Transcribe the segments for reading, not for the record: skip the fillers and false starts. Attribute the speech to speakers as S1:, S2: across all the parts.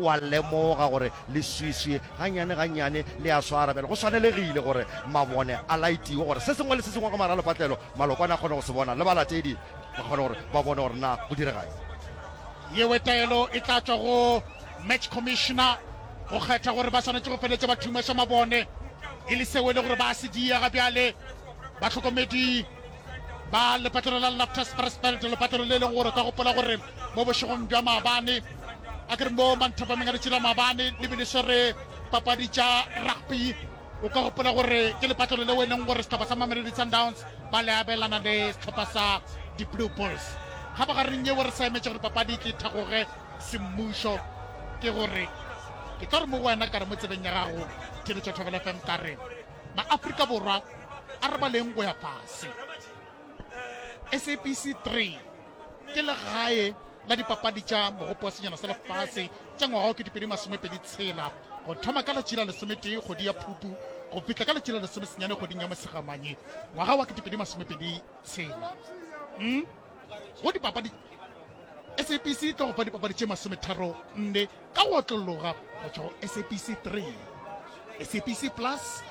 S1: O a lemoga gore leswiswi gannyane gannyane le a swara. Bjale go swanelegile gore mabone a laetiwe gore se sengwe le se sengwe ka mogare ga lepatlelo malokwane a kgone go se bona le balatedi ba kgone gore ba bone gore na go direga eng.
S2: Yewe taelo e tla tšwa go match commissioner go kgetha gore ba swanetše go feletša ba thumeša mabone e le seo e le gore ba se diega bjale bahlokomedi ba lepatlelo la Loftus Versfeld lepatlelo le leng gore ka gopola gore mo bošegong bja maabane a ke re mo manthapameng a letšatši la maabane le be le swere papadi tša rugby o ka gopola gore ke lepatlelo leo e leng gore sehlopha sa Mamelodi Sundowns ba le abelana le sehlopha sa di-Blue Bulls kgabagareng yeo re sa emetše gore papadi e tle thagoge semmušo ke gore ke tlo re mo go wena ka re mo tsebeng ya gago theletša Thobela FM ka re maafrika borwa a re baleng go ya fase SABC 3 ke legae la dipapadi tša mogopo wa senyana sa lefase tša ngwaga wa 2026 go thoma ka letši la lesometee kgwedi ya Phupu go fihla ka letši la lesomesenyane kgweding ya Mosegamanye ngwaga wa 2026. Mm? Go dipapadi SABC e tlo go fa dipapadi tše masometharonne ka go otlologa go tšwa go SABC 3, SABC Plus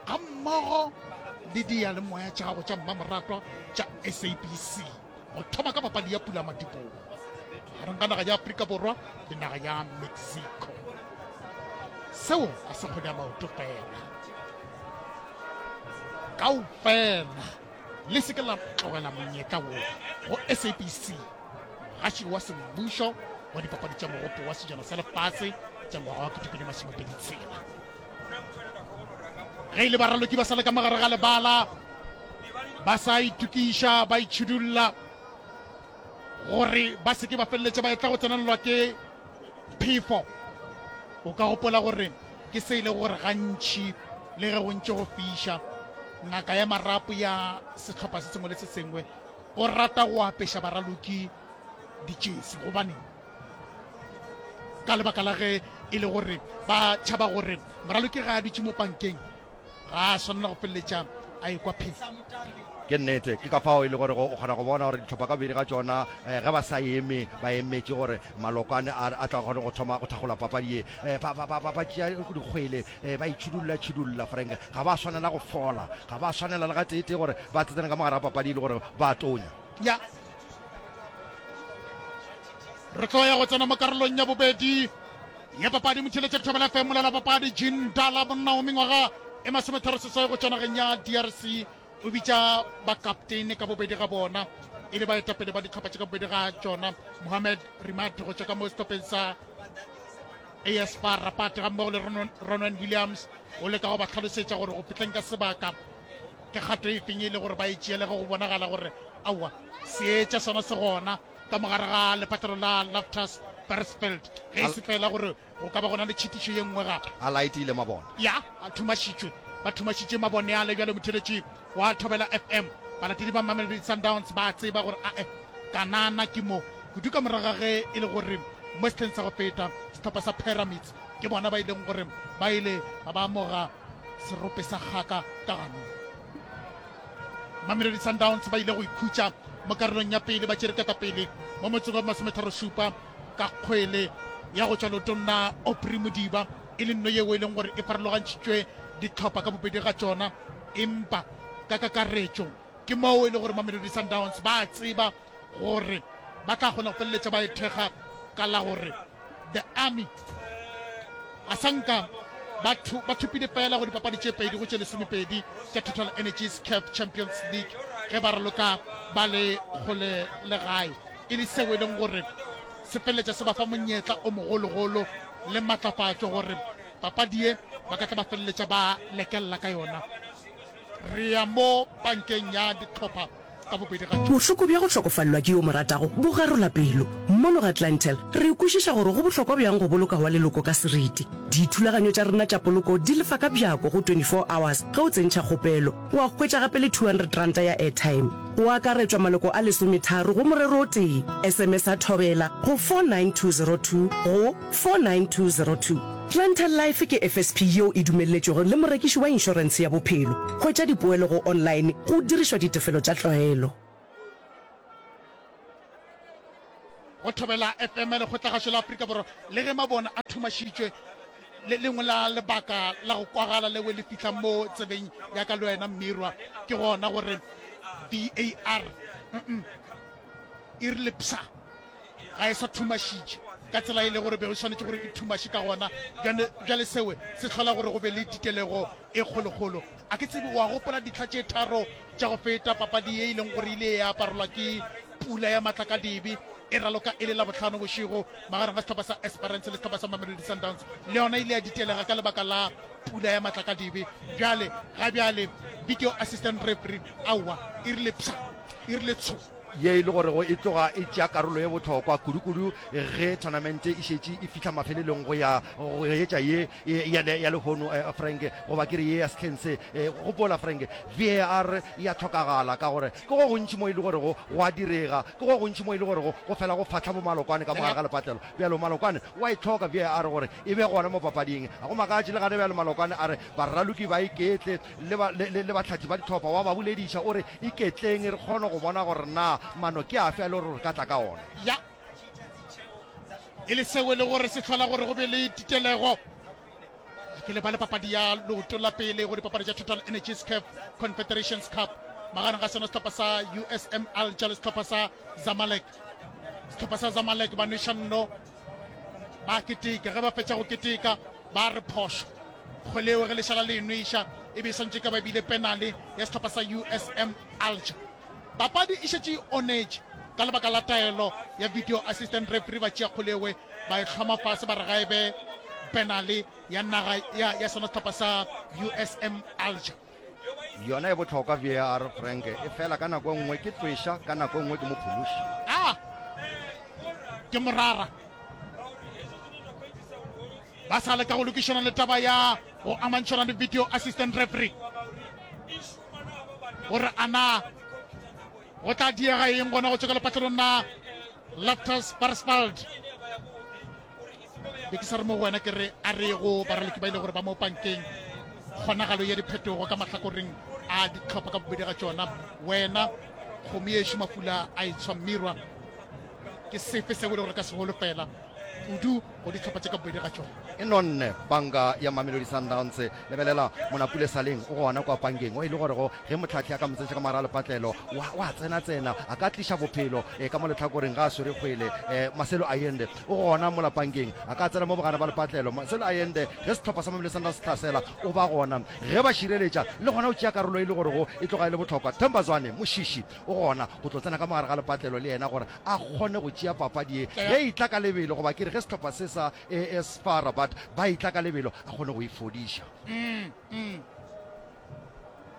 S2: gammogo le diyalemoya tša gago tša mmamoratwa tša SABC go thoma ka papadi ya pulamadibogo gareng ga naga ya Afrika Borwa le naga ya Mexico. Seo ga se kgwele ya maoto fela, kaofela le se ke la tlogela monyetla wo go SABC. Mogaši wa semmušo wa dipapadi tša Mogopo wa Sejana sa Lefase tša ngwaga wa 2026. Ge e le baraloki ba sa le ka mogare ga lebala ba sa itokiša ba itšhidulla gore ba se ke ba feleletša ba etla go tsenelelwa ke phefo. O ka gopola gore ke se e le gore gantši le ge go ntše go fiša, ngaka ya marapo ya sehlopha se sengwe le se sengwe O rata go apeša baraloki ditšesi. Gobaneng? Ka lebaka la ge e le gore ba tšhaba gore moraloki ga a dutše mo pankeng ga a swanela go feleletša a ekwa phefo.
S1: Ke nnete, ke ka fao e le gore o kgona go bona gore dihlopha ka bobedi ga tšona eh, ge ba sa eme ba emetše gore malokwane a a tla kgone go thoma go thakgola papadi ye eh, ba, ba, ba, ba, ba tšea dikgwele eh, ba itšhidulla tšhidulla Frank ga ba swanela go fola ga ba swanela le gateetee gore ba tsetsene ka mogare ga papadi e le gore ba tonya.
S2: Ya re tlo ya go tsena mo karolong ya bobedi ya papadi. Motheletša Thobela FM, molela papadi Jean Dala, monna wa mengwaga e 36 go tšwa nageng ya DRC, o bitša bakaptene ka bobedi ga bona e le baetapele ba dihlopha tše ka bobedi ga tšona, Mohamed Rimat go tšwa ka mo sehlopheng sa AS FAR Rabat ga mmogo le Ronwen Williams. O leka go ba hlalosetša gore go fihleng ka sebaka ke kgato e feng e le gore ba e tšeele ge go bonagala gore aowa seetša sona se gona ka mogare ga lepatlelo la Loftus Versfeld, ge e se fela gore go ka ba gona le tšhitišo ye nngwe gape.
S1: A laetile mabone.
S2: Ya, a thumašitšwe. Ba thumašitše mabone ale bjale motheletši wa Thobela FM. Balatedi ba Mamelodi Sundowns ba a tseba gore ae Kanana ke mo kudu ka morago ga ge e le gore mo sehleng sa go feta sehlopha sa Pyramids ke bona ba ileng gore ba ile ba ba amoga serope sa kgaka ka ganong. Mamelodi Sundowns ba ile go ikhutša mo karolong ya pele ba tšere ketapele mo motseng wa 37 ka kgwele ya go tšwa leotong la Aubrey Modiba e le nno yeo e leng gore e farologantšhitšwe dihlopha ka bobedi ga tšona empa ka kakaretšo ke moo e le gore Mamelodi Sundowns ba tseba gore ba tla kgona go feleletša ba e thekga ka la gore The Army a sa nka ba thopile fela go dipapadi tše pedi go tše lesomepedi tša Total Energies CAF Champions League ge ba raloka ba le kgole le gae e le seo e leng gore se feleletša se ba fa monyetla o mogologolo le matlafatšo gore papadi ye ba ka tla ba feleletša ba lekelela ka yona. Re ya mo bankeng ya dihlopha ka bobedi ga tšona.
S3: Bohloko bja go hlokofalelwa ke yo o mo ratago bo garola pelo. Mono ga Clientele, re kwešiša gore go bohlokwa bjang go boloka wa leloko ka seriti. Dithulaganyo tša rena tša poloko di lefa ka bjako go 24 hours ge o tsentšha kgopelo. Wa hwetša gape le R200 ya airtime. Go akaretšwa maloko a lesometharo go morero o tee. SMS-a Thobela go 49202 go 49202. Clientele Life ke FSP yeo e dumelletšwego le morekiši wa inšorentshe ya bophelo. Hwetša dipoelo go online go dirišwa ditefelo tša tlwaelo.
S2: Go Thobela FM, Lekgotlagašo la Afrika Borwa, le ge mabone a thuma. thumašitšwe. Le lengwe la lebaka la go kwagala leo le fihla mo tsebeng ya ka le wena Mmirwa ke gona gore VAR e rile psa ga e sa thumašitše ka tsela e le gore be e swanetše gore e thumaše ka gona. Bjale, bjale seo se hlola gore go be le titelego e kgolokgolo. A ke tsebe, o a gopola dihla tše tharo tša go feta, papadi ye e leng gore e ile ya aparelwa ke pula ya matlakadibe e raloka e le Labohlano bošego magareng ga sehlopha sa Esperance le sehlopha sa Mamelodi Sundowns, le yona e ile ya ditelega ka lebaka la pula ya matlakadibe. Bjale, ga bjale, video assistant referee, aowa, e rile psha, e rile tsho.
S1: Ye e le gorego e tloga e tšea karolo ye bohlokwa kudu-kudu ge thonamente e šetše e fihla mafelelong go ya go etša ye ya, ya lehono, Frank, goba ke re ye ya sehleng se. Gopola, Frank, VAR e a hlokagala ka gore ke go gontši mo e le gorego go a direga, ke go gontši mo e le gorego go fela go fahla bomalokwane ka mo gare ga lepatlelo. Bjalo Malokwane o a e hloka VAR gore e be gona mo papading. Ga go makatše le gane bjalo Malokwane a re baraloki ba iketle le, ba, le, le, le bahlathi ba dihlopha, wa ba bolediša o re, Iketleng re kgone go bona gore na mano ke afe a le gore re ka tla ka ona.
S2: Ya e le seo e le gore se hlola gore go be le titelego. Ke lebale papadi ya leoto la pele go dipapadi tša Total Energies CAF Confederations Cup magareng ga sona sehlopha sa USM Alger le sehlopha sa Zamalek. Sehlopha sa Zamalek ba nweša nno ba keteka, ge ba fetša go keteka ba re phošo. Kgwele eo ge lešala le e nweša e be e swantše ka ba bile penale ya sehlopha sa USM Alger. Papadi e šetše e onetše ka lebaka la taelo ya video assistant referee, ba tšea kgwele ewe ba e hloma fase ba re ga e be penale ya naga ya, ya sona sehlopha sa USM Alger.
S1: Yona e bohlokwa VAR Frank, e fela ka nako e nngwe ke tweša, ka nako e nngwe ke mophološi.
S2: Ah! Ke morara. Ba sa leka go lokišana le taba ya go amantšhana le video assistant referee gore a na go tla diega eng gona go tšwa ka lepatlelong la Loftus Versfeld. Be ke sa re mo go wena ke re a re go baraloki ba ile gore ba mo pankeng kgonagalo ya diphetogo ka mahlakoreng a ditlhopha ka bobedi ga tšona. Wena kgomo yešo mafula a etshwa mmirwa ke sefe seo e le gore ka se holofela kudu go dihlopha tše ka bobedi ga tšona.
S1: E nonne panka ya Mamelodi Sundowns. Lebelela Monapule Saleng o gona kwa pankeng, o e le gorego ge mohlahli a ka mo tsentšha ka mogare ga lepatlelo wa, wa tsena-tsena, a ka tliša bophelo e, ka mo lehlakoreng ga a swere kgwele. E, Marcelo Allende o gona mola pankeng, a ka tsena mo bogare ba lepatlelo. Marcelo Allende ge sehlopha sa Mamelodi Sundowns se hlasela o ba gona, ge ba šireletša le gona o tšea karolo e le gorego e tloga e le bohlokwa. Themba Zwane, Moshishi, o gona go tlo tsena ka mogare ga lepatlelo le yena gore a kgone go tšea papadi ye ge e tla ka lebelo, goba ke re ge sehlopha se sa AS FAR Rabat ba e tla ka lebelo, a kgone go e fodiša.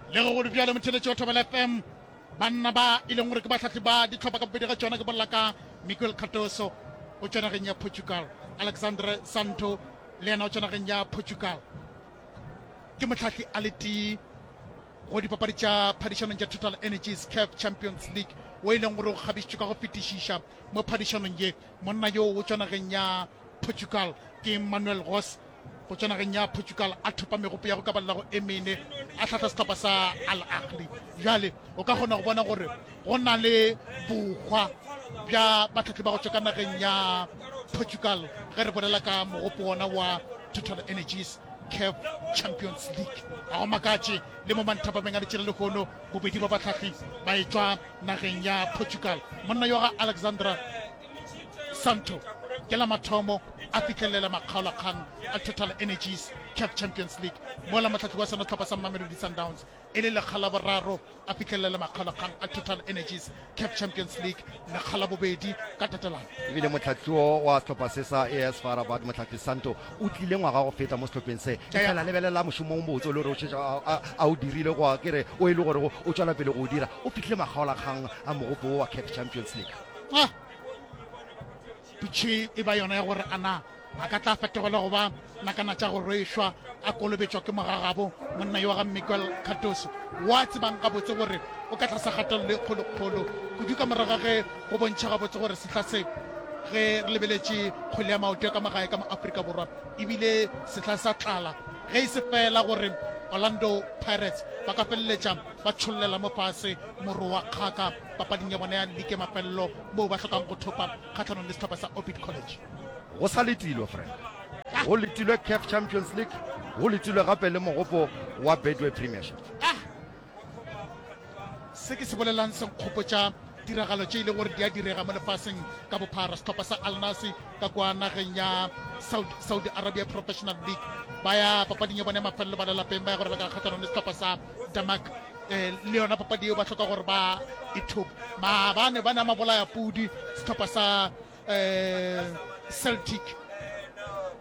S2: Le ge go le bjalo, motheeletši wa Thobela FM, banna ba e leng gore ke bahlahli ba dihlopha ka bobedi ga tšona, ke bolela ka Miguel Cardoso o tšwa nageng ya Portugal, Alexandre Santo le yena o tšwa nageng ya Portugal, ke mohlahli a le tee Go dipapadi tša phadišanong tša Total Energies CAF Champions League wo e leng gore o kgabišitšwe ka go fetišiša mo phadišanong ye, monna yo o tšwa nageng ya Portugal ke Manuel Goss go tšwa nageng ya Portugal a thopa megopo ya go ka balelago e mene a hlahla sehlopha sa Al Ahly. Bjale o ka kgona go bona gore go na le bohwa bja bahlahli ba go tšwa ka nageng ya Portugal ge re bolela ka mogopo wona wa Total Energies CAF Champions League. Ga go makatše le mo manthapameng a letšela lehono bobedi ba bahlahli ba etšwa nageng ya Portugal. Monna yo ga Alexandra Santo ke la mathomo a fihlelela makgaolakgang a Total Energies CAF Champions League mola mohlahli wa sona sehlopha sa Mamelodi Sundowns e le lekga la boraro a fihlelela makgaolakgang a Total Energies CAF Champions League lekga la bobedi ka tatelano.
S1: Ebile mohlahliwo wa sehlopha se sa AS FAR Rabat, Mohlahli Santo, o tlile ngwaga go feta mo sehlopheng se. Efela lebelela mošomo o mobotse o le gore o šetše a o dirile, goba ke re o e le gore o tšwela pele go o dira. O fihlile makgaolakgang a mogopo wo wa CAF Champions League.
S2: Ah! Pitšhe e ba yona ya gore a na a ka tla fetogela go ba nakana tša go rwešwa a kolobetšwa ke mogagabo monna yo wa ga Miguel Cardoso wa tsebang gabotse gore o ka tlasa kgatelelo e kgolokgolo kudu ka morago ga ge go bontšha gabotse gore sehla se ge re lebeletše kgwele ya maoto ya ka magae ka mo Afrika Borwa ebile sehla sa tlala ge e se fela gore Orlando Pirates ba ka feleletša ba tšhollela mo fase moro wa kgaka papading ya bona ya ligi ya mafelelo moo ba hlokang go thopa kgahlanong le sehlopha sa Orbit College.
S1: Go sa letilwe, Frank. Go letilwe CAF Champions League, go letilwe gape le mogopo wa Betway Premiership.
S2: Ah! Se ke se bolelang se nkgopotša tiragalo tše e lego gore di a direga mo lefaseng ka bophara. Sehlopha sa Al Nassr ka kwa nageng ya Saudi, Saudi Arabia Professional League ba ya papading ya bone ya mafelelo ba le lapeng ba ya go raloka kgahlanong le sehlopha sa Damac. Eh, le yona papadi eo ba hloka gore ba e thope. Maabane ba ne mabolaya pudi sehlopha sa eh, Celtic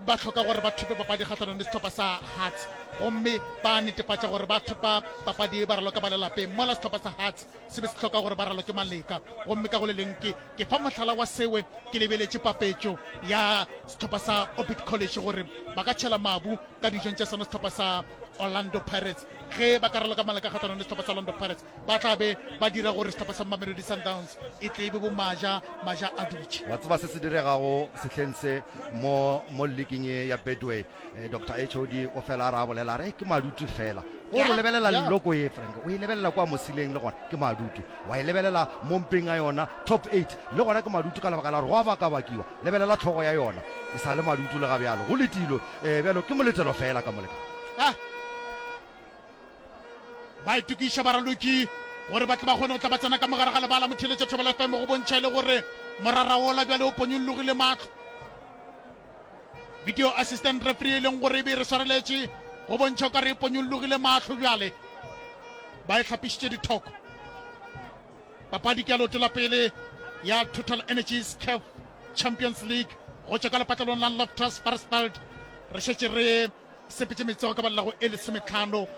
S2: ba hloka gore ba thope papadi kgahlanong le sehlopha sa Hearts gomme ba netefatša gore ba thopa papadi e ba raloka ba le lapeng mola sehlopha sa Hearts se be se hloka gore ba raloke maleka gomme ka go le leng ke ke fa mohlala wa sewe ke lebeletše papetšo ya sehlopha sa Orbit College gore ba ka tšhela mabu ka dijong tša sona sehlopha sa Orlando Pirates ge ba ka raloka maleka kgahlanong le sehlopha sa Orlando Pirates ba tla be ba dira gore sehlopha sa Mamelodi Sundowns e tle e be bomaja maja a dutše.
S1: Wa tseba se se diregago sehleng se mo mo leaking ye ya Betway? Eh, Doctor HOD o fela a re a bolela a re ke madutu fela. Go re lebelela leloko ye Frank, o e lebelela kwa mosileng le gona ke madutu. Wa e lebelela mo mpeng a yona top 8 le gona ke madutu ka lebaka la gore go a bakabakiwa. Lebelela tlhogo ya yona e sa le madutu le ga bjalo. Go letilo eh, bjalo ke moletelo fela ka molekane.
S2: Ah. Ba itokiša baraloki gore ba tle ba kgone go tla ba tsena ka mogare ga lebala. Motheeletša Thobela FM go bontšha e le gore morara wola bjale o ponyollogile mahlo. Video assistant referee e leng gore e be e re swareletše go bontšha o ka re e ponyollogile mahlo bjale ba e hlapišitše dithoko. Papadi ke ya leoto la pele ya Total Energies CAF Champions League go tšwa ka lepatlelong la Loftus Versfeld. Re šetše re sepetše metsogo ka balelago e lesometlhano.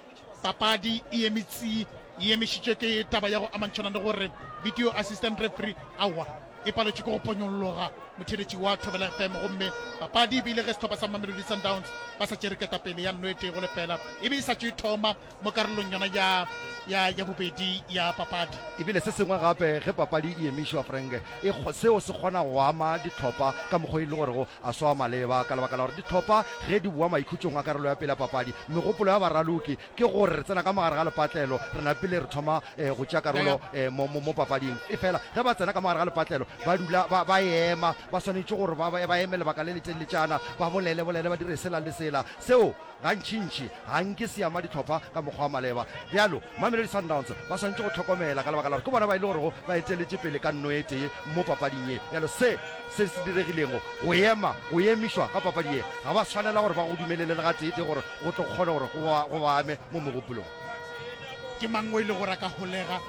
S2: Papadi e eme tsi, e emišitšwe ke taba ya go amantšhana le gore video assistant referee aowa e paletšwe ke go ponyolloga motheeletši wa Thobela FM gomme papadi e bile ge sehlopha sa Mamelodi Sundowns ba sa tšere ketapele ya nno e tee go lefela e be e sa tšo e thoma mo karolong yona ya ya ya bobedi ya papadi.
S1: Ebile se sengwe gape ge papadi e emišwa Frank e seo se kgona go ama dihlopha ka mokgwa e le gorego a swa maleba ka lebaka la gore dihlopha ge di boa maikhutšong a karolo ya pele ya papadi, megopolo ya baraloki ke gore re tsena ka mogare ga lepatlelo re napile re thoma go tšea karolo mo, mo, mo papading. Efela ge ba tsena ka mogare ga lepatlelo ba dula ba, ba ema, ba swanetše gore ba, ba eme lebaka le letelletšana, ba bolele, bolele, ba dire sela le sela. Seo gantšintši ga nke se ama dihlopha ka mokgwa wa maleba. Bjalo, Mamelodi Sundowns ba swanetše go hlokomela ka lebaka la gore ke bona ba e le gorego ba eteletše pele ka nno e tee mo papading ye. Bjalo se se se diregilego, go ema, go emišwa ga papadi ye, ga ba swanela gore ba go dumelele le gateetee gore go tlo kgone gore go ba, go ba ame mo mogopolong.
S2: Ke mang o e le gore a ka holega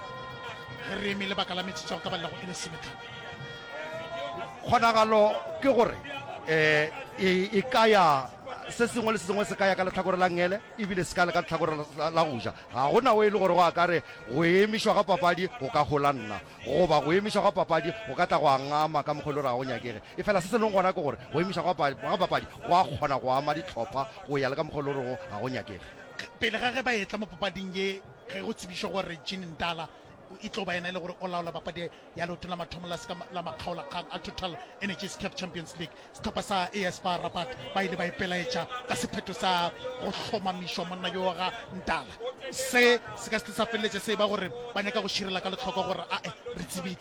S2: ge re eme lebaka la metsotso ya go ka balela go e lesometlhano?
S1: Kgonagalo ke gore um e, e ka ya Se sengwe le se sengwe se ka ya ka lehlakore la nngele e bile se ka le ka lehlakore la go ja. Ga go na o e le gore go a ka re go emišwa ga papadi go ka hola nna goba go emišwa ga papadi go ka tla gwa ngama ka mokgwa e le gore ga go nyakege. Efela se se leng gona ke gore go emišwa ga papadi go a kgona go ama dihlopha go ya le ka mokgwa e le gorego ga go nyakege.
S2: Pele ga ge ba etla mo papading ye, ge go tsebišwa gore Jean Ndala e tlo ba yena e le gore o laola papadi ya leoto la mathomo la seka la makgaolakgang a Total Energies CAF Champions League, Sehlopha sa AS FAR Rabat ba ile ba ipelaetša ka sephetho sa go hlomamišwa monna yo ga Ntala. Se se ka se sa feleletša se eba gore ba nyaka go širela ka lehlokwa gore ae re tsebile.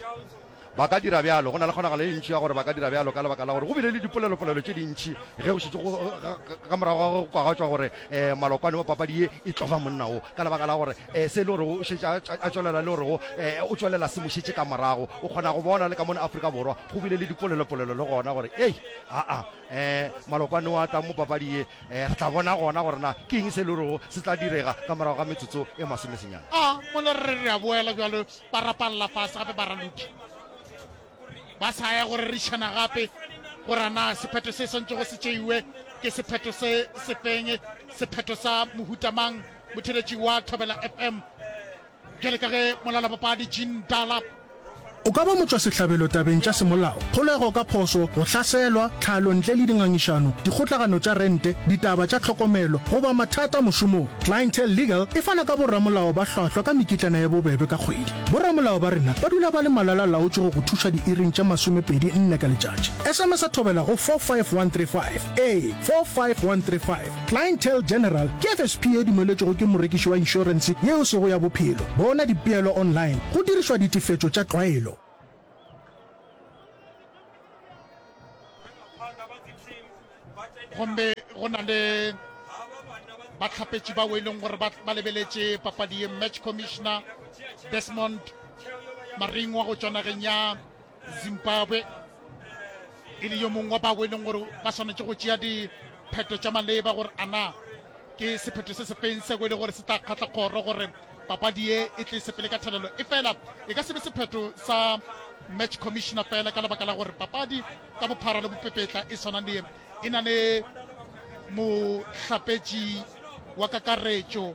S1: Ba ka dira bjalo. Go na le kgonagalo e ntši ya gore ba ka dira bjalo ka lebaka la gore go bile le dipolelopolelo tše dintši ge go šetše go ka morago ga go kwagatšwa gore um malokwane wa papadi ye e tlo ba monna wo ka lebaka la gore um se e le gore o šetše a tšwelela le gore um o tšwelela se mo šetše ka morago. O kgona go bona le ka mona Afrika Borwa Go bile le dipolelopolelo le gona gore, Ei, aa, um malokwane o a tlang mo papadi ye, um re tla bona gona gore na ke eng se e le gorego se tla direga ka morago ga metsotso e masomesenyane.
S2: A mola re re re a boela bjalo, ba rapalla fase gape baraloki. Ba sa ya go rerišana gape gore a na sephetho se swantšego se tšeiwe ke sephetho se sefeng, sephetho sa mohuta mang. Motheeletši wa Thobela FM. Bjale ka ge molalapapadi Jean Dala.
S4: O ka ba motšwasehlabelo tabeng tša semolao, kgolego ka phošo, go hlaselwa, tlhalo ntle le dingangišano, dikgotlagano tša rente, ditaba tša tlhokomelo, goba mathata mošomong. Clientele Legal e fana ka boramolao ba hlwahlwa ka mekitlana ye bobebe ka kgwedi. Boramolao ba rena ba dula ba le malala-laotšwe go go thuša diiring tše masomepedi nne ka letšatši. SMS-a Thobela go 45135. Ee, 45135. Clientele General ke FSP ye dumeletšwego ke morekiši wa inšorense ye e sego ya bophelo. Bona dipeelo online go dirišwa ditefetšo tša tlwaelo.
S2: Gomme go na le bahlapetši bao e leng gore ba lebeletše papadi ye, match commissioner Desmond Maringwa go tšwa nageng ya Zimbabwe e le yo mongwe wa bao e leng gore ba swanetše go tšea diphetho tša maleba gore ana ke sephetho se sefeng seo e le gore se tla kgatla kgoro gore papadi ye e tle sepele ka thelelo. E fela e ka se be sephetho sa match commissioner fela ka lebaka la gore papadi ka bophara le bopepetla e swana le ye e na le mohlapetši wa kakaretšo,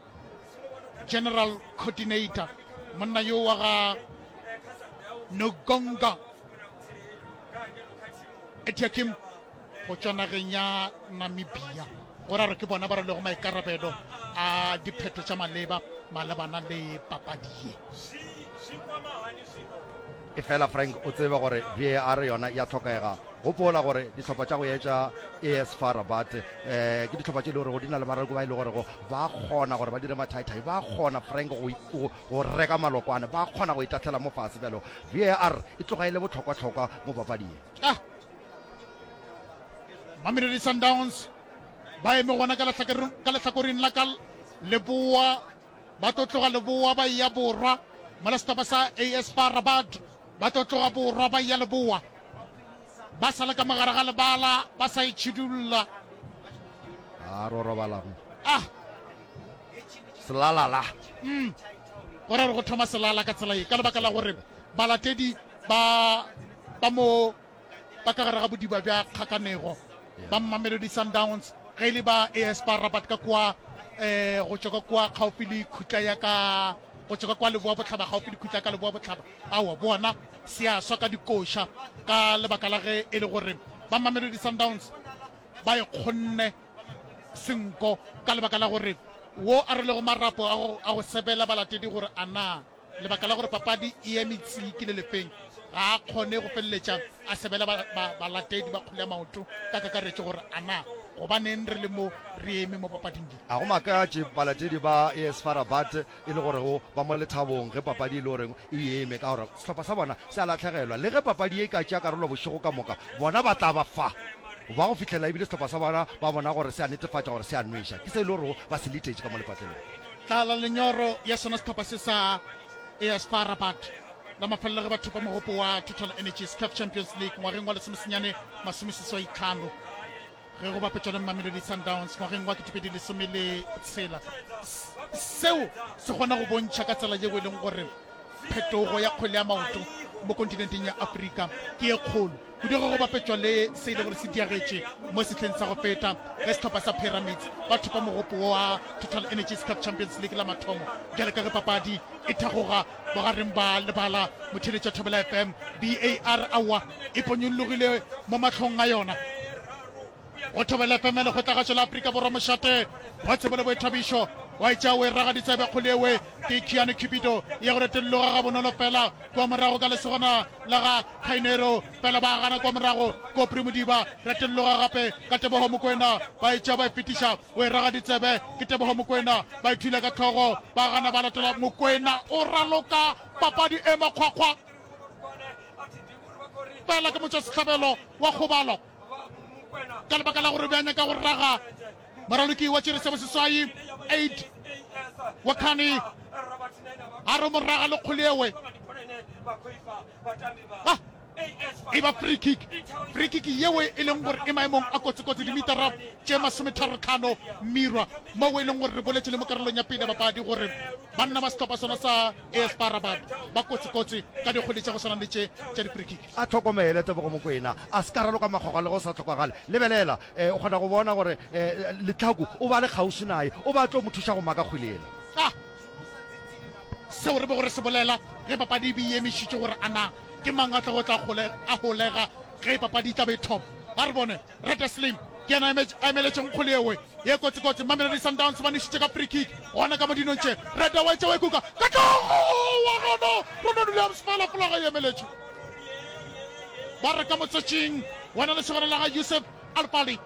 S2: general coordinator, monna yo wa ga Nogonga Etiakim go tšwa nageng ya Namibia. Go ra gore ke bona ba rwelego maikarabelo a diphetho tša maleba malebana le papadi ye.
S1: Efela Frank o tsebe gore VAR yona ya hlokega. Gopola gore dihlopha tša go etša AS FAR Rabat eh, ke dihlopha tše e le gorego di na le baraloki ba e le gorego ba kgona gore ba dire mathaithai, ba kgona Frank go, go, go reka malokwane, ba kgona go itahlela mo fase. Bjalo VAR e tloga e le bohlokwa-hlokwa mo papading.
S2: Ah! Mamelodi Sundowns ba eme gona ka lehlakoreng la ka leboa, ba tlo tloga leboa ba eya borwa, mola sehlopha sa AS FAR Rabat ba tlo tloga borwa ba eya leboa. Ba sa le ka mogare ga lebala ba sa itšhidulla.
S1: A ro robala mo.
S2: Ah!
S1: Selalala.
S2: Mm. Go ra gore go thoma selala ka tsela ye ka lebaka la gore balatedi ba ba mo ba ka gare ga bodiba bja kgakanego ba Mamelodi Sundowns ge e le ba AS FAR Rabat ka kua eh go tšwa ka kua kgaufsi le khutla ya ka go tšwa ka kua leboa bohlaba kgaufsi le khutla ya ka leboa bohlaba aowa bona se a swa ka dikoša ka lebaka la ge e le gore ba Mamelodi Sundowns ba e kgonne senko ka lebaka la gore wo a rwelego marapo a go sebela balatedi gore a na Lebaka la gore papadi e eme tsi ke le lefeng, ga a kgone go feleletša a sebela ba, ba, balatedi ba kgwele ya maoto ka kakaretšo gore a na gobaneng re le mo re eme mo papading ye.
S1: Ga go makatše balatedi ba AS FAR Rabat e le gorego ba mo lethabong ge papadi e le goreng e eme, ka gore sehlopha sa bona se a lahlegelwa. Le ge papadi ye e ka tšea karolo bošego ka moka, bona ba tla ba fa ba go fihlela ebile sehlopha sa bona ba bona gore se a netefatša gore se a nweša. Ke se e le gorego ba se letetše ka mo lepatlelong.
S2: Tlala lenyoro ya sona sehlopha se sa AS FAR Rabat la mafelelo ge ba thopa mogopo wa Total Energies CAF Champions League ngwageng wa lesomesenyane masomeseswai-tlhano ge go bapetšwa le Mamelodi Sundowns ngwageng wa 2016. Seo se kgona go bontšha ka tsela yeo e leng gore phetogo ya kgwele ya maoto mo kontinenteng ya Afrika ke ye kgolo. Kudu ge go bapetšwa le se e le gore se diagetše mo sehleng sa go feta ge sehlopha sa Pyramids ba thopa mogopo wa Total Energies Cup Champions League la mathomo. Bjale ka ge papadi e thagoga bogareng ba lebala, motheeletši wa Thobela FM, VAR aowa e ponyollogile mo mahlong a yona. Go Thobela FM ya Lekgotlagašo la Afrika Borwa mošate wa tsebo le boithabišo wa etša o e raga ditsebe kgole ewe ke Keanu Cupido ya go retolloga gabonolo fela kua morago ka lesogana la ga Khainero fela ba gana kua morago Kopri Modiba retolloga gape ka Teboho Mokoena ba etša ba e fetiša o e raga ditsebe ke Teboho Mokoena ba e thula ka hlogo ba gana ba latola Mokoena o raloka papadi e makgwakgwa fela ke motšwasehlabelo wa kgobalo ka lebaka la gore be a nyaka go raga moraloki wa tšere sebo seswai 8 wa khane a re moraga le kgole ewe ah, e ba free kick free kick yeo e leng gore e maemong a kotsikotsi dimitara tše masometharotlhano mirwa moo e leng gore re boletše le mo karolong ya pele bapadi gore banna ba sehlopha sona sa AS FAR Rabat ba kotsikotsi ka dikgwele tša go swana le tše tša di-free kick.
S1: A hlokomele Tebogo Mokoena a se ka raloka makgwakgwa le go sa hlokagale. Lebelela, o kgona go bona gore Letlhaku o ba le kgauswi naye, o ba tlo mo thuša go maka kgwele yela.
S2: A Seo re bego re se bolela ge papadi e be e emišitšwe gore a na ke mang a tlogo tla a holega ge papadi e tla be e thoma. A re bone. Rete Slim ke yena a emeletšego kgole yewe ye kotsikotsi. Mamelodi Sundowns ba nwešitše ka free kick gona ka mo dinong tše. Rete wa etša wa ikuka ka hlogo wa gona Ronald Williams fela folaga e emeletše. Ba re ka motswetšing wena lesogana la ga Yusuf Alfali.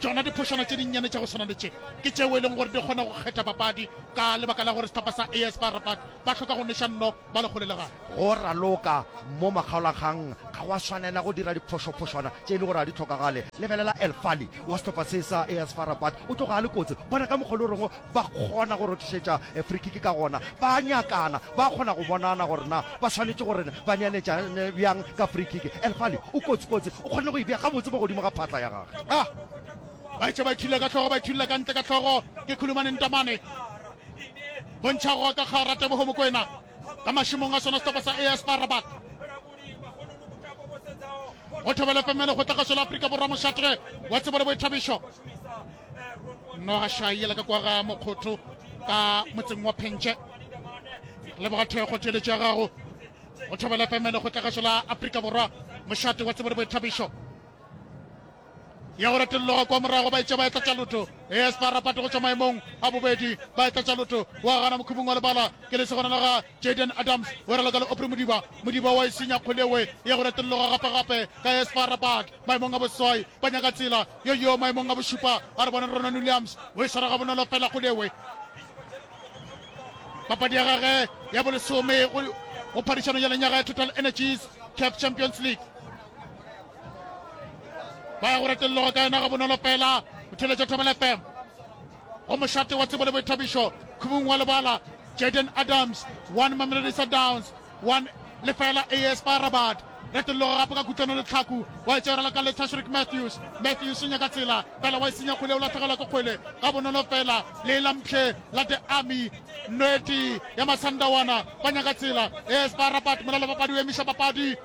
S2: Tšona diphošwana tše dinnyane tša go swana le tše ke tšeo e leng gore di kgona go kgetha papadi ka lebaka la gore sehlopha sa AS FAR Rabat ba hloka go nweša nno ba le kgole le gae.
S1: Go raloka mo makgaolakgang ga gwa swanela go dira diphošophošwana tše e le gore ga di hlokagale. Lebelela El Fali wa sehlopha se sa AS FAR Rabat, o tloga a le kotsi. Bona ka mokgwa o le gorego ba kgona go rothišetša free kick ka gona. Ba a nyakana, ba kgona go bonana gore na ba swanetše gore ba neeletšane bjang ka free kick. El Fali o kotsi-kotsi, o kgonne go e bea gabotse mo godimo ga phatla ya gagwe.
S2: Ah! Ba etše ba ithulile ka hlogo, ba ithulile ka ntle ka hlogo ke Khulumane Ntamane. Bontšha go ka kgara Teboho Mokoena ka mašemong a sona sehlopha sa AS FAR Rabat. Go thobela FM le kgotlagašo la Afrika Borwa mošate wa tsebo le boithabišo. Noga šai ka kwa ga Mokgotho ka motseng wa Phentše. Leboga thekgo tšweletšo ya gago. Go thobela FM le kgotlagašo la Afrika Borwa mošate wa tsebo le boithabišo. Ya go retolloga kwa morago ba etša ba etla tša lotho. AS FAR Rabat go tšwa maemong a bobedi ba etla tša lotho. Wa gana mokhubung wa lebala ke lesogana la ga Jayden Adams o raloka le Aubrey Modiba. Modiba wa e senya kgwele ewe ya go retolloga gape-gape ka AS FAR Rabat maemong a boseswai ba nyaka tsela yo yo maemong a bošupa a re bone Ronan Williams o e swara gabonolo fela kgwele ewe. Papadi ya gage ya bolesome go phadišano ya lenyaga ya Total Energies CAF Champions League. Ba ya go retelloga ka yona gabonolo fela. O theletša Thobela FM go mošate wa tsebo le boithabišo khubung wa lebala. Jayden Adams 1 Mamelodi Sundowns 1 lefela AS FAR Rabat. Retelloga gape ka kutlwano le tlhaku wa e tšerela ka letsha Shrick Matthews. Matthews o nyaka tsela fela wa e senya kgwele o lahlegelwa ke kgwele gabonolo fela. Le la mpšhe la The Army Nweti ya Masandawana ba nyaka tsela. AS FAR Rabat molala papadi o emiša papadi.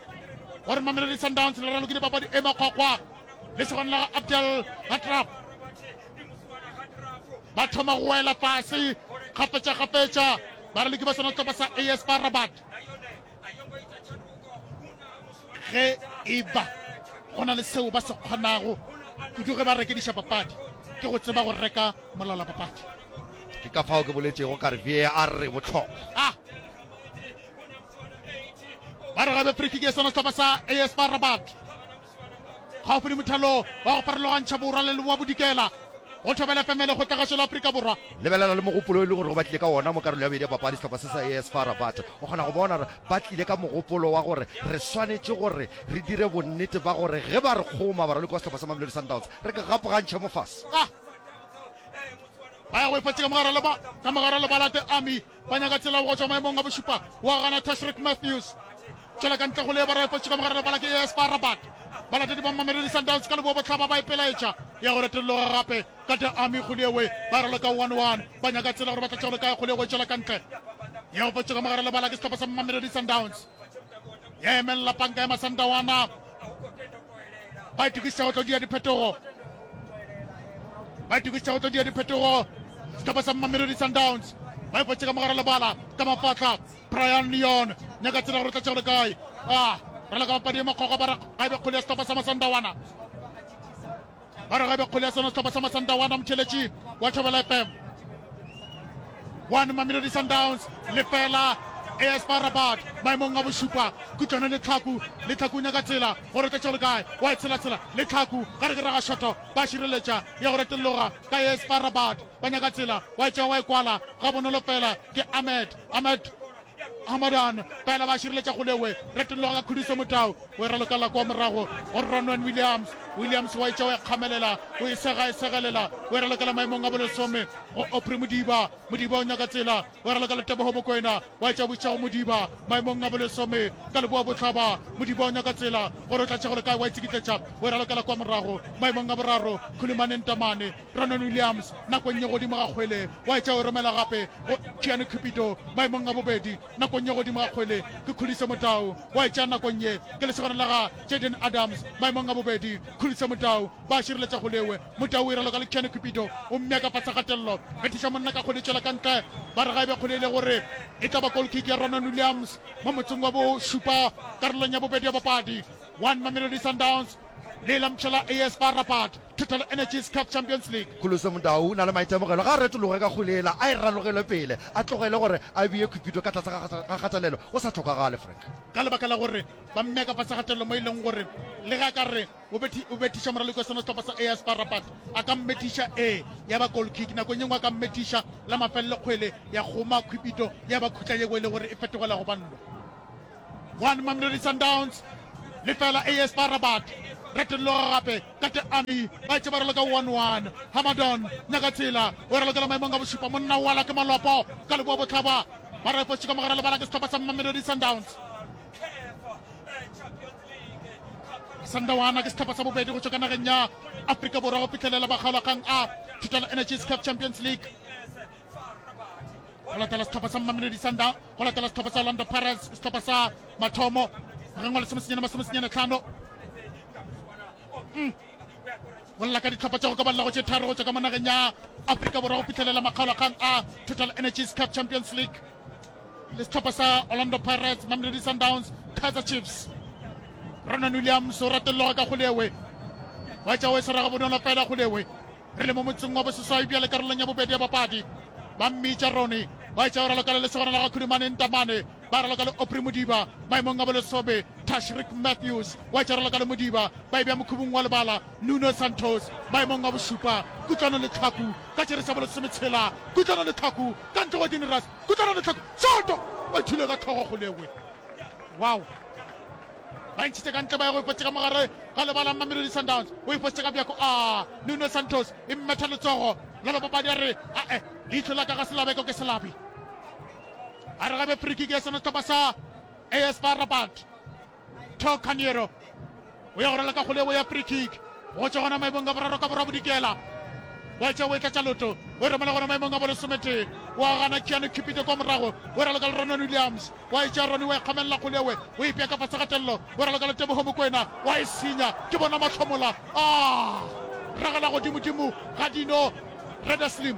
S2: Gore Mamelodi Sundowns le ralokile papadi e makgwakgwa le segwana la ga Abdel Hatraf. Ba thoma go wela fase kgafetša-kgafetša baraloki ba sona sehlopha sa AS FAR Rabat. Ge e ba go na le seo ba se kgonago kudu ge ba rekediša papadi ke go tseba go reka molala papadi.
S1: Ke ka fao ke boletšego ka re VAR e bohlokwa.
S2: Ah! Ba re gabe free kick ya sona sehlopha sa AS FAR Rabat gaufi le mothalo wa go farologantšha borwa le leboa bodikela go thobela FM le kgotlagašo la Afrika Borwa.
S1: Lebelela le mogopolo e le gore ba tlile ka wona mo karolo ya bobedi ya papadi sehlopha se sa AS FAR Rabat. O kgona go bona gore ba tlile ka mogopolo wa gore re swanetše gore re dire bonnete ba gore ge ba re kgoma baraloki ba sehlopha sa Mamelodi Sundowns re ke gapogantšhe mo fase.
S2: Ah! Ba ya go e fatše ka mogare leba ka mogare lebala The Army Ba nyaka tsela go tšwa maemong a bošupa wa gana Tashreeq Matthews. Tšwela ka ntle go le ba refotše ka mogare lebala ke AS FAR Rabat. Balatedi ba Mamelodi Sundowns ka leboa bohlaba ba ipelaetša ya go retolloga gape ka The Army Kgoliewe ba raloka 1-1. Ba nyaka tsela gore ba tla tšwa go le kae Kgoliewe e tšwela ka ntle ya go fotše ka mogare lebala ke sehlopha sa Mamelodi Sundowns. Ya emelela panka ya Masandawana. Ba itokišetša go tlo dia diphetogo. Ba itokišetša go tlo dia diphetogo. Sehlopha sa Mamelodi Sundowns ba ipotše ka mogare lebala ka mafatla. Brian Leon nyaka tsela gore o tla tšea go le kae. Ah, raloka papadi e makgwakgwa ba re ga e be kgwele ya sehlopha sa Masandawana. Ba re ga e be kgwele ya sona sehlopha sa Masandawana motheletši wa Thobela FM. 1 Mamelodi Sundowns lefela AS FAR Rabat maemong a bošupa. Kutlwano le Tlhaku, le Tlhaku o nyaka tsela gore o tla tšea go le kae, wa e tshela-tshela le Tlhaku gare ke raga šoto ba šireletša ya go retolloga ka AS FAR Rabat ba nyaka tsela wa e tšea wa e kwala gabonolo fela ke Ahmed, Ahmed Hamadan fela ba šireletša kgolewe retolloga ka Khudiso Motau o e ralokela kwa morago go Ronwen Williams, Williams wa e tšea wa e kgamelela o e sega e segelela o e ralokela maemong a bolesome go Aubrey Modiba, Modiba o nyaka tsela o e ralokela Teboho Mokoena wa etša buša go Modiba maemong a bolesome ka leboa bohlaba. Modiba o nyaka tsela gore o tla tšea go le kae, wa itsikitletša o e ralokela kwa morago maemong a boraro. Khulumane Ntamane, Ronwen Williams nakong ye godimo ga kgwele wa etša o e romela gape go Keanu Cupido maemong a bobedi nakong ye godimo ga kgwele ke Khuliso Motau wa etša nakong ye ke lesogana la ga Jayden Adams maemong a bobedi. Khuliso Motau ba šireletša kgolewe. Motau o e raloka le Keanu Cupido o mmea ka fase kgatelelo. Bethiša monna ka kgwele e tšwela ka ntle. Ba re ga e be kgwele e le gore e tla ba goal kick ya Ronwen Williams mo motsong wa bošupa karolong ya bobedi ya papadi. 1 Mamelodi Sundowns le la mpšha la AS FAR Rabat. Total Energies CAF Champions League.
S1: Kholoso Mudau o na le maitemogelo, ga a retologe ka kgwele yela, a e ralogele pele, a tlogele gore a bee Cupido ka tlase ga kgatelelo go sa hlokagale. Frank.
S2: Ka lebaka la gore ba mmea ka fase ga kgatelelo mo e leng gore le ge a ka re o bethi, o bethiša moraloki wa sona sehlopha sa AS FAR Rabat, a ka mmethiša ee ya ba goal kick, nakong ye nngwe a ka mmethiša la mafelelo kgwele ya kgoma Cupido ya ba khutla yeo e le gore e fetogela go ba nno. 1 Mamelodi Sundowns lefela AS FAR Rabat. Retolloga gape ka Teami ba etše ba raloka 1-1. Hamadon Nyakatsela o ralokela maemong a bošupa monna o ala ke malopo ka leboa bohlaba ba re fotše ka mogare lebala ke sehlopha sa Mamelodi Sundowns. Sandawana ke sehlopha sa bobedi go tšwa ka nageng ya Afrika Borwa go fihlelela makgaolakgang a Total Energies CAF Champions League. Go latela sehlopha sa Mamelodi Sundowns, go latela sehlopha sa Orlando Pirates, sehlopha sa mathomo ngwageng wa lesomesenyane masomesenyane tlhano. Mm. Go lla ka dihlopha tša go ka balela go tše tharo go tšwa ka mo nageng ya Afrika Borwa go fihlelela makgaolakgang a Total Energies CAF Champions League le sehlopha sa Orlando Pirates, Mamelodi Sundowns, Kaizer Chiefs. Ronan Williams o ratelloga ka kgolewe wa tša o e swara gabonolo fela kgolewe Re le mo motseng wa boseswai bjale karolong ya bobedi ya papadi. Ba mmitša Ronnie, ba etša o raloka le lesogana la ga Khudumane Ntamane, ba raloka le Aubrey Modiba maemong a bolesome, Tashreeq Matthews wa etša raloka le Modiba, ba e bea mokhubung wa lebala, Nuno Santos maemong a bošupa, Kutlwano Letlhaku ka tšere sa bolesometshela, Kutlwano Letlhaku ka ntle go Dini Ras, Kutlwano Letlhaku, Soto! Ba ithule ka hlogo kgolegwe. Wow! Ba ntšhitše ka ntle ba ya go ipotša ka mogare ga lebala Mamelodi Sundowns o ipotša ka bjako a Nuno Santos e mmetha letsogo la papadi a re ae leihlo la ka ga se labeko ke selabi a re gabe free kick ya sona sehlopha sa AS FAR Rabat Tho Caniero o ya go rala ka kgolego ya free kick go tšwa gona maemong a boraro ka borwa bodikela wa tša o e tlatša loto o e romela gona maemong a bolesometee wa gana Keanu Cupido kwa morago o raloka le Ronan Williams Wa e tšea Ronnie, wa e kgamelela kgole ewe, o ipea ka fase ga tello, o raloka le Teboho Mokoena, wa e senya, ke bona mahlomola a ragela godimodimo ga dino Reda Slim.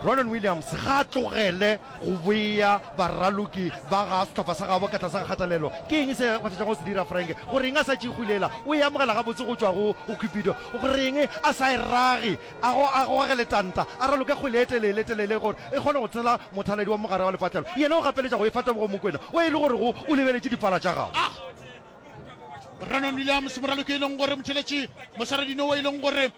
S1: Ronan Williams ga a tlogele go bea baraloki ba ga sehlopha sa gabo ka tlase ga kgatelelo. Ke eng se a fetšago go se dira Frank? Go reng a sa tšee kgwele yela? O e amogela gabotse go tšwa go Cupido. Go reng a sa e rage? A go a goge letanta, a raloke kgwele e telele telele gore e kgone go tshela mothaladi wa mogare wa lepatlelo. Yena o gapeletša go e fa Tebogo Mokwena o e le gore go o lebeletše dipala tša gagwe.
S2: A Brandon Williams, moraloki e leng gore motheletši moswaradino o e leng gore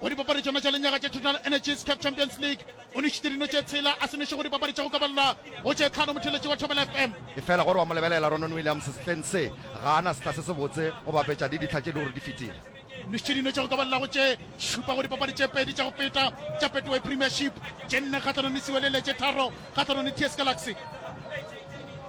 S2: go dipapadi tšona tša lenyaga tša Total Energies CAF Champions League o nwešitše dino tše tshela a se nweše go dipapadi tša go ka balela go tše tlhano motheletši wa Thobela FM.
S1: Efela gore wa mo lebelela Ronon Williams sehleng se ga a na sehla se sebotse go bapetša le dihla tše e le gore di fetile.
S2: Nwešitše dino tša go ka balela go tše šupa go dipapadi tše pedi tša go feta tša Betway Premiership, tše nne kgahlanong le Siwelele, tše tharo kgahlanong le TS Galaxy.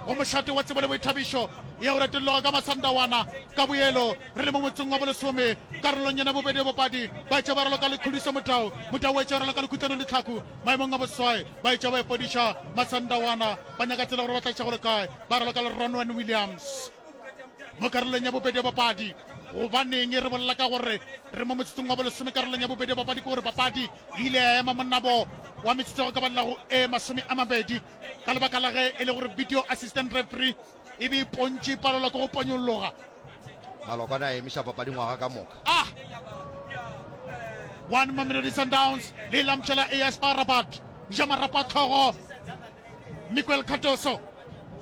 S2: Go mošate wa tsebo le boithabišo ya go retolloga ka Masandawana ka boelo re le mo motseng wa bolesome karolong yena bobedi ya bopadi ba etša ba raloka le Khuliso Motau. Motau o etša raloka le Khutlano Letlhaku maemong a boswai ba etša ba epodiša Masandawana ba nyaka tsela gore ba tla iša go le kae ba raloka le Ronwen Williams. Mo karolong ya bobedi ya papadi, gobaneng re bolela ka gore re mo motsotsong wa bolesome karolong ya bobedi ya papadi? Ke gore papadi e ile ya ema monabo wa metsotso go ka balela go e 20 ka lebaka la ge e le gore video assistant referee e be e pontše e palelwa ke go ponyolloga.
S1: Malokwane a emiša papadi ngwaga ka moka.
S2: A one Mamelodi Sundowns le lamtšhela AS FAR Rabat ja marapo a tlhogo. Miguel Cardoso,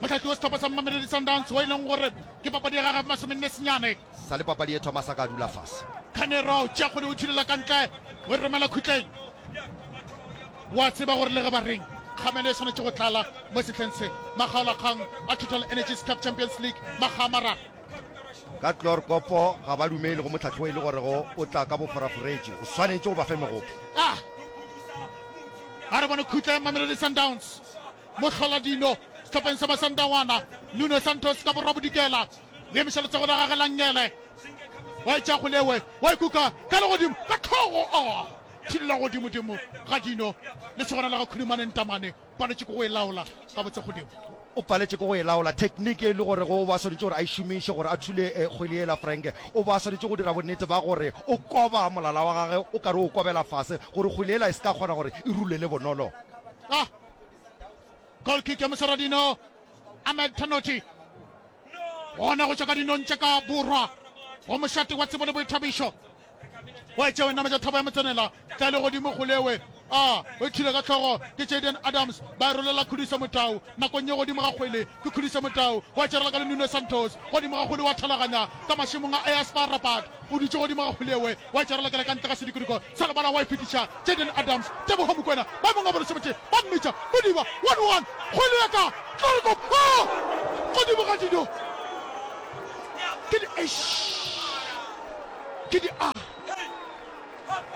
S2: mohlahli wa sehlopha sa Mamelodi Sundowns wo e leng gore ke papadi ya gagwe masomenne senyane.
S1: Sa le papadi e thoma sa ka dula fase.
S2: Canero tšea kgwele o thulela ka ntle o e romela khutleng. Wa tseba gore le ge ba reng kgamelo e swanetše go tlala mo sehleng se. Makgaolakgang a Total Energies CAF Champions League makga a mararo.
S1: Ka Chloorkop ga ba dumele go mohlahli wo e le gorego o tla ka boforaforetši. O swanetše go ba fe megopo.
S2: Ah! A re bone khutla ya Mamelodi Sundowns. Mohloladino sehlopheng sa Masandawana, Nuno Santos ka borwa bodikela. O emiša letsogo la gage la nngele. Wa etša kgolewe, wa ikuka ka legodimo ka tlhogo. Oh! Thilla godimodimo ga dino. Lesogana la ga Khulumane Ntamane paletše ke go e laola gabotse godimo.
S1: O paletše ke go e laola. Thekniki e le gore o ba swanetše gore a e šomiše gore a thule kgwele yela, Frank. O ba swanetše go dira bonnete ba gore o koba molala wa gagwe o ka re o kobela fase gore kgwele yela e se ka kgona gore e rulele bonolo.
S2: Ah! Goal kick ya Moseradino Ahmed Tanoti. Gona go tšwa ka dinong tša ka borwa go mošate wa tsebo le boithabišo. Wa e tšea wa e nametša thaba ya motsenela. Tla le godimo kgolewe. A o ithile ka hlogo ke Jayden Adams. Ba e rolela Khudiso Motau. Nakong ye godimo ga kgwele ke Khudiso Motau. Wa tšerela ka le Nuno Santos. Godimo ga kgwele wa thalaganya ka mašemong a AS FAR Rabat. O dutše godimo ga kgwele yewe. Wa e tšerela kela ka ntle ga sedikodiko sa lebala wa e fetiša Jayden Adams. Teboho Mokoena maemong a bolesomete ba mmitša Modiba. 1-1. Kgwele ya ka Tlorekop. Oh! Godimo ga dino ke di eish ke di a.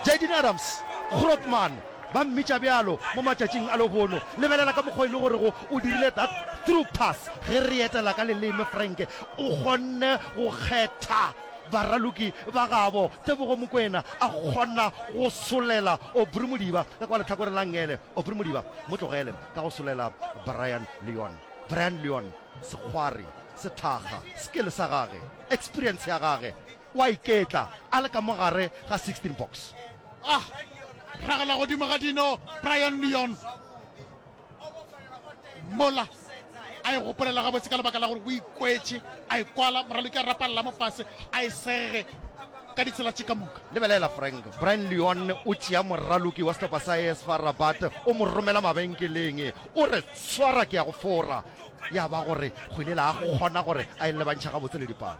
S1: Jayden Adams, Grootman, ba mmitša bjalo mo matšatšing a lehono. Lebelela ka mokgwa e le gorego o dirile that through pass. Ge re etela ka leleme, Frank, o kgonne go kgetha baraloki ba gabo. Tebogo Mokoena a kgona go solela Aubrey Modiba ka kwa lehlakoreng la nngele. Aubrey Modiba mo tlogele ka go solela Brian Leon. Brian Leon, sekgwari, sethakga, skill sa gage, experience ya gage, O a iketla a le ka mo gare ga 16 box.
S2: A ragela godimo ga dino Brian Leon mola a e gopolela gabotse ka lebaka la gore o ikwetše a e kwala moraloki a rapalela mo fase a e sege ka ditsela tše ka moka.
S1: Lebelela Frank, Brian Leon o tšea moraloki wa sehlopha sa AS FAR Rabat o mo romela mabenkeleng o re swara ke ya go fora. Ya ba gore kgwele la kgona gore a e lebantšhe gabotse le dipalo.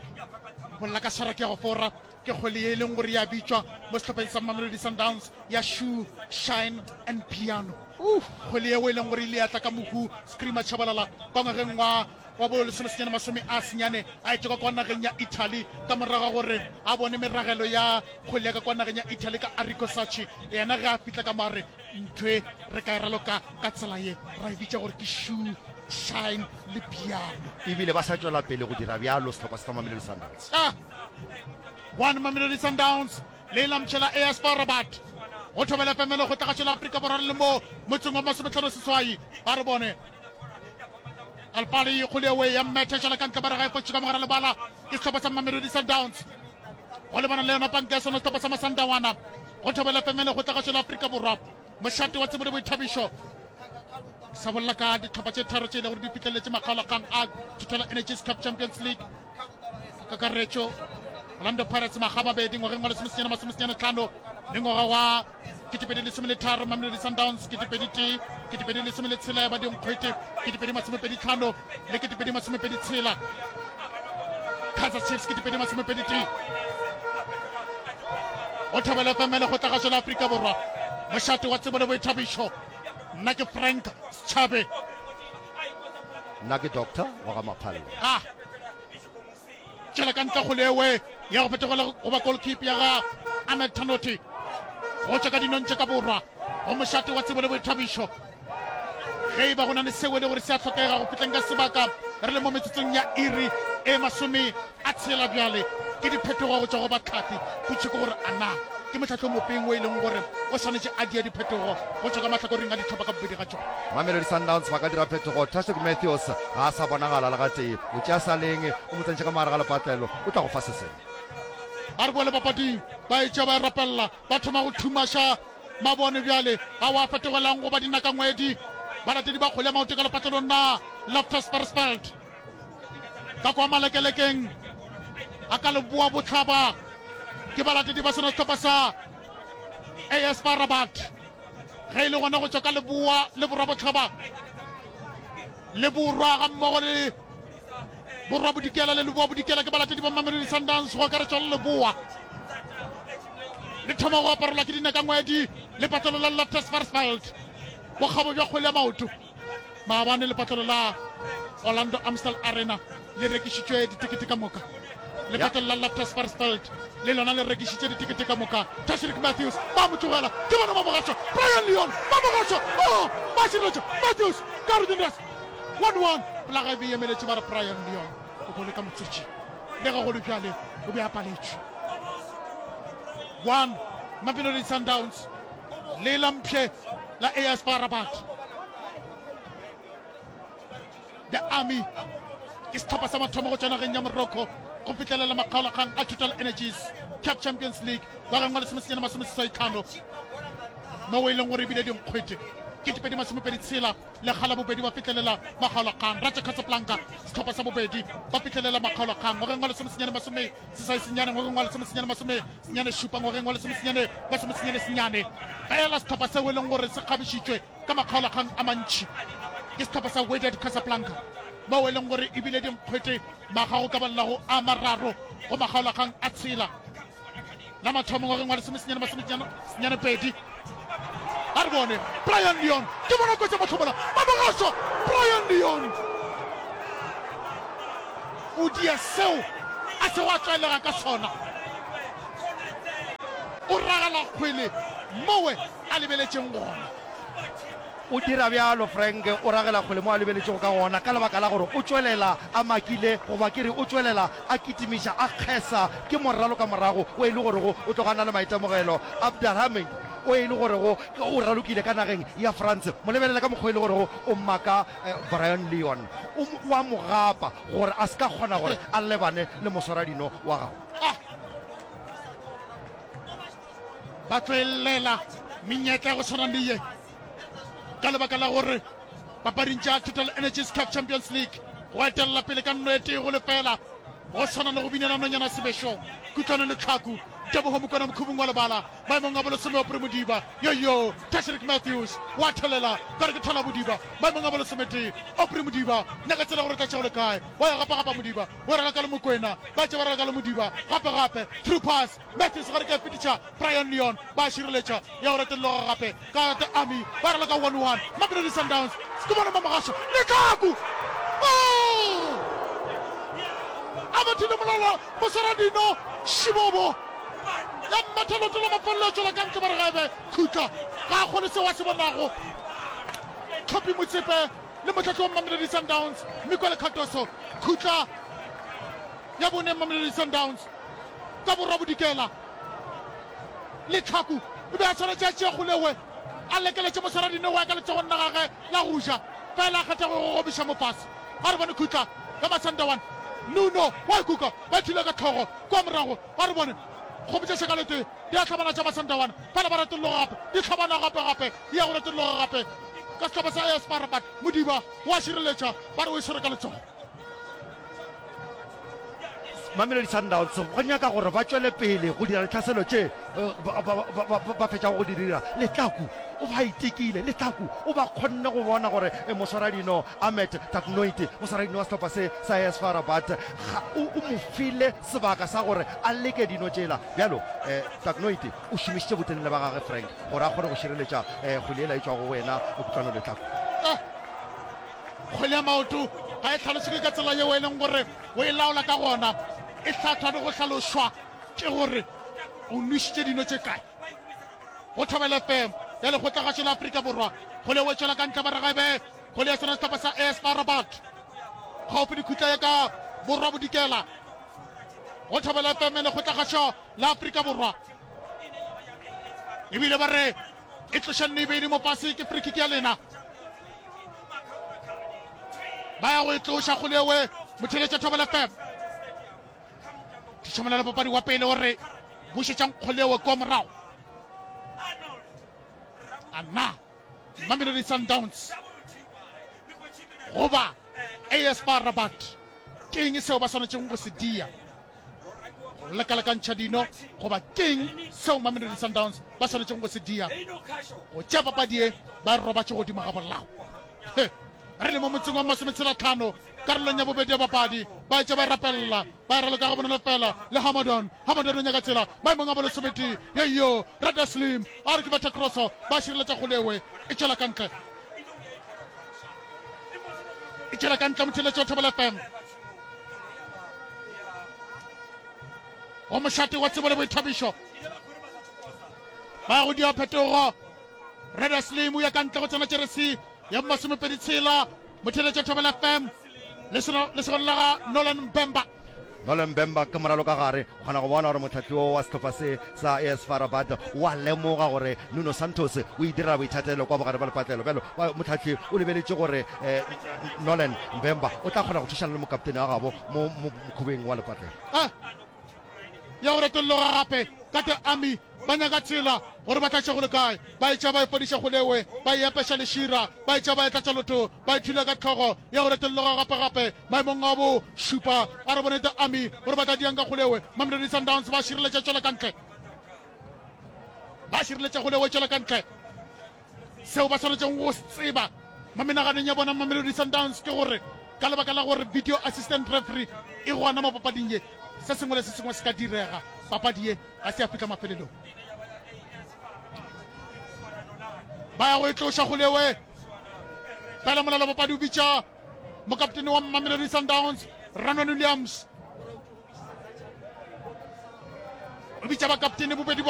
S2: Bolela ka swara ke ya go fora ke kgwele ye e leng gore ya bitšwa mo sehlopheng sa Mamelodi Sundowns ya Shoe Shine and Piano. Kgwele yeo e leng gore ile ya tla ka mohu Screamer Tshabalala kwa ngwageng wa wa bo lesomesenyane masome a senyane a etšwa ka kwa nageng ya Italy ka morago ga gore a bone meragelo ya kgwele ya ka kwa nageng ya Italy ka Arrigo Sacchi. Yena ge a fihla ka mo a re Ntho e re ka e raloka ka tsela ye, ra e bitša gore ke shoe shine le piano.
S1: Ebile ba sa tšwela pele go dira bjalo sehlopha sa Mamelodi Sundowns.
S2: Ah! One Mamelodi Sundowns le la mtšhela AS FAR Rabat. Go thobela FM lekgotlagašo la Afrika Borwa re le mo motseng wa masometlhano seswai. Ba re bone Alpali kgole ya mmetha šala ka ntle ba re ga e fotše ka mogara lebala ke sehlopha sa Mamelodi Sundowns. Go lebana le yona panka ya sona sehlopha sa Masandawana go thobela FM lekgotlagašo la Afrika Borwa. Mošate wa tsebo le boithabišo sa bolela ka dihlopha tše tharo tše e le gore di fihlelletše makgaolakgang a Total Energies Cup Champions League. Kakaretšo Orlando Pirates makga mabedi ngwageng wa lesomesenyane masomesenyane tlhano le ngwaga wa 2013, Mamelodi Sundowns 2001, 2016 ya ba dinkgwete 2025 le 2026, Kaizer Chiefs 2021. Go thobela FM lekgotlagašo la Afrika Borwa, mošate wa tsebo le boithabišo. Nna ke Frank Setšhabe.
S1: Nna ke Doctor wa ga Maphalle.
S2: Ah. Tšwela ka ntle kgole ewe ya go fetogela go ba goalkeeper ya ga Ahmed Tanoti go tšwa ka dinong tše ka borwa go mošate wa tsebo le boithabišo. Ge e ba go na le seo e le gore se a hlokega go fihleng ka sebaka re le mo metsotsong ya iri e masome a tshela bjale ke diphetogo go tšwa go batlhahli. Potšo ke gore a na ke mohlahli o mofeng o e leng gore o swanetše a die diphetogo go tšwa ka mahlakoreng a dihlopha ka bobedi ga tšona.
S1: Mamelodi Sundowns ba ka dira phetogo. Tashreeq Matthews ga a sa bonagala le gatee. O tšea Saleng, o mo tsentšha ka mo gare ga lepatlelo, o tla go fa se sengwe.
S2: Ba re boele papading, ba e tšea ba e rapelela, ba thoma go thumaša mabone bjale ao a fetogelang go ba dinakangwedi. Balatedi ba kgwele ya maoto ka lepatlelong la Loftus Versfeld ka kwa malekelekeng a ka leboa bohlaba ke balatedi ba sona sehlopha sa AS FAR Rabat. Ge e le gona go tšwa ka leboa le borwa-bohlaba le borwa ga mmogo le borwa bodikela le leboa bodikela ke balatedi ba Mamelodi Sundowns go akaretšwa le leboa le thoma go aparelwa ke dinakangwedi lepatlelo la Loftus Versfeld bokgabo bja kgwele ya maoto. Maabane lepatlelo la Orlando Amstel Arena le rekišitšwe ditekete ka moka. Lepatlelo la Loftus Versfeld le lona le rekišitše ditekete ka moka. Tashreeq Matthews ba mo tlogela, ke bona ba mo gaša. Brian Leon ba mo gaša, oh, ba šireletša Matthews ka Rodindas 1-1. Folaga e be e emeletše ba re Brian Leon o bone ka motswetši. Le ge go le bjale o be a paletšwe. 1 Mamelodi Sundowns le la mpšhe la AS FAR Rabat. The Army ke sehlopha sa mathomo go tšwa nageng ya Morocco go fihlelela makgaolakgang a Total Energies Cup Champions League ngwageng wa lesomesenyane masomeseswai tlhano mo e leng gore ebile dinkgwete. 2026 lekga la bobedi ba fihlelela makgaolakgang. Raja Casablanca sehlopha sa bobedi ba fihlelela makgaolakgang ngwageng wa lesomesenyane masome seswai senyane ngwageng wa lesomesenyane masome senyane šupa ngwageng wa lesomesenyane masomesenyane senyane. Fela sehlopha seo e leng gore se kgabišitšwe ka makgaolakgang a mantši ke sehlopha sa Wydad Casablanca moo e leng gore e bile dinkgwete makga go ka balelago a mararo go makgaolakgang a tshela. La mathomo ngwageng wa lesomesenyane masomesenyane pedi. A re bone Brian Leon ke bona kotsi ya mahlomola Mamogašo. Brian Leon o dia seo a sego a tlwaelega ka sona, o ragela kgwele mowe a lebeletšeng gona.
S1: O dira bjalo, Frank o ragela kgwele mo a lebeletšego ka gona ka lebaka la gore o tšwelela a makile, goba ke re o tšwelela a kitimiša, a kgesa ke moralo ka morago o e le gorego o tloga a na le maitemogelo. Abderrahmane o e le gorego o ralokile ka nageng ya France, mo lebelele ka mokgwa o e le gorego o maka Brayan Leon, o o a mo gapa gore a se ka kgona gore a lebane le moswaradino wa gagwe.
S2: Ah! Ba tlo e llela menyetla ya go tshwana le ye ka lebaka la gore papading tša Total Energies CAF Champions League go etelela pele ka nno e tee go lefela go tshwana le go binela nonyana sebešong. Kutlwano le Tlhaku, Tebogo Mokwena Mokhubung wa lebala maemong a bolesome Aubrey Modiba, yoyo Tashreeq Matthews wa thelela ka re ke thola Modiba maemong a bolesometee Aubrey Modiba nyaka tsela gore tla tšego le kae wa ya gapa gapa Modiba o raloka le Mokwena ba tše ba raloka le Modiba gape gape through pass Matthews gare ka fetiša Brian Leon ba šireletša ya go retolloga gape ka The Army ba raloka 1-1 Mamelodi Sundowns ke bona Mamogašo Letlhaku oh! A bethile molala moswaradino Šibobo ya mmetha leoto la mafelelo a tšwela ka ntle ba re gaebe khutla ga a kgone seo a se bonago Tlhophi Motsepe le mohlahli wa Mamelodi Sundowns Miguel Cardoso khutla ya bone Mamelodi Sundowns ka borwa bodikela. Letlhaku o be a swanetše a tšee kgolewe a lekeletše moswaradinogo ka letsogong la gagwe la go ja, fela a kgetha go gogobiša mo fase. A re bone khutla ya Masandawana. Nuno wa ikuka, ba ithule ka hlogo kua morago. A re bone kgomo tša šakalete di a hlabana tša Masandawana, fela ba retolloga gape, di hlabana gape gape, di ya go retolloga gape ka sehlopha sa AS FAR Rabat. Modiba wa šireletša, ba re o e swere ka letsogo.
S1: Mamelodi Sundowns go nyaka gore ba tšwele pele go dira ditlhaselo tše ba fetšago go di dira. Letlaku o ba itekile, Letlaku o ba kgonne go bona gore moswaradino Ahmed Tagnoiti, moswaradino wa sehlopha se sa AS FAR Rabat, o mo file sebaka sa gore a leke dino tšela. Bjalo Tagnoiti o šomišitše botelele ba gagwe Frank gore a kgone go šireletša kgwele yela e tšwago go yena Kutlwano Letlaku.
S2: Kgwele ya maoto ga e hlalošege ka tsela yeo e leng gore o e laola ka gona. E hlathwa le go hlalošwa ke gore o nwešitše dino tše kae. Go Thobela FM ya Lekgotlagašo la Afrika Borwa, kgwele e tšwela ka ntle ba re ga e be kgwele ya sona sehlopha sa AS FAR Rabat gaufi le khutla ya ka borwa bodikela. Go Thobela FM ya Lekgotlagašo la Afrika Borwa ebile ba re e tloša nneibeni mo fase ke free kick ya lena. Ba ya go e tloša kgolewe motheletša Thobela FM. Tšhomelelo papadi wa pele o re bušetšang kgolewe kwa morago. Ana Mamelodi Sundowns goba AS FAR Rabat ke eng seo ba swanetšego go se dia? Go lekalekantšha dino goba ke'ng seo Mamelodi Sundowns ba swanetšego go se dia go tšea papadi ye ba robatše godimo ga bolao? He, re le mo motseng wa masometshelatlhano karolong ya bobedi ya papadi, ba etša ba rapelela ba raloka ga bonolo fela le Hamadon. Hamadon o nyaka tsela maemong a bolesometee yeyo Rada Slim a re ke betha crosso ba šireletša kgolewe e tšwela ka ntle e tšwela ka ntle motheletši wa Thobela FM. Go mošate wa tsebo le boithabišo ba go dia phetogo. Reda Slim o ya ka ntle go tsena jeresi ya masomepedi tshela motheletša Thobela FM lesogana la ga Nolan Mbemba.
S1: Nolan Mbemba ke moralo ka gare, o kgona go bona gore mohlahli wo wa sehlopha se sa AS FAR Rabat o a lemoga gore Nuno Santos o e direla boithatelo kwa bogare bja lepatlelo. Bjalo mohlahli o lebeletše gore Nolan Mbemba o tla kgona go thušana le mokaptene wa gabo mo mokhubeng wa lepatlelo.
S2: Ya go retolloga gape ka The Army. Ba nyaka tsela gore ba tlatše go le kae. Ba e tša ba e fodiša kgolewe, ba e apeša lešira, ba e tša ba e tlatša lotho, ba e thula ka hlogo ya go retolloga gape-gape. Maemong a bo šupa, a re bone The Army gore ba tla diang ka kgolewe. Mamelodi Sundowns ba šireletša tšwela ka ntle. Ba šireletša kgolewe tšwela ka ntle. Seo ba swanetšego go se tseba mo menaganong ya bona Mamelodi Sundowns ke gore ka lebaka la gore video assistant referee e gona mo papading ye, se sengwe le se sengwe se ka direga. Papadi ye ga se ya fihla mafelelong. Ba ya go e tloša kgolewe. Fela molala papadi o bitša mokaptene wa Mamelodi Sundowns Ranwan Williams. O bitša bakaptene bobedi ba.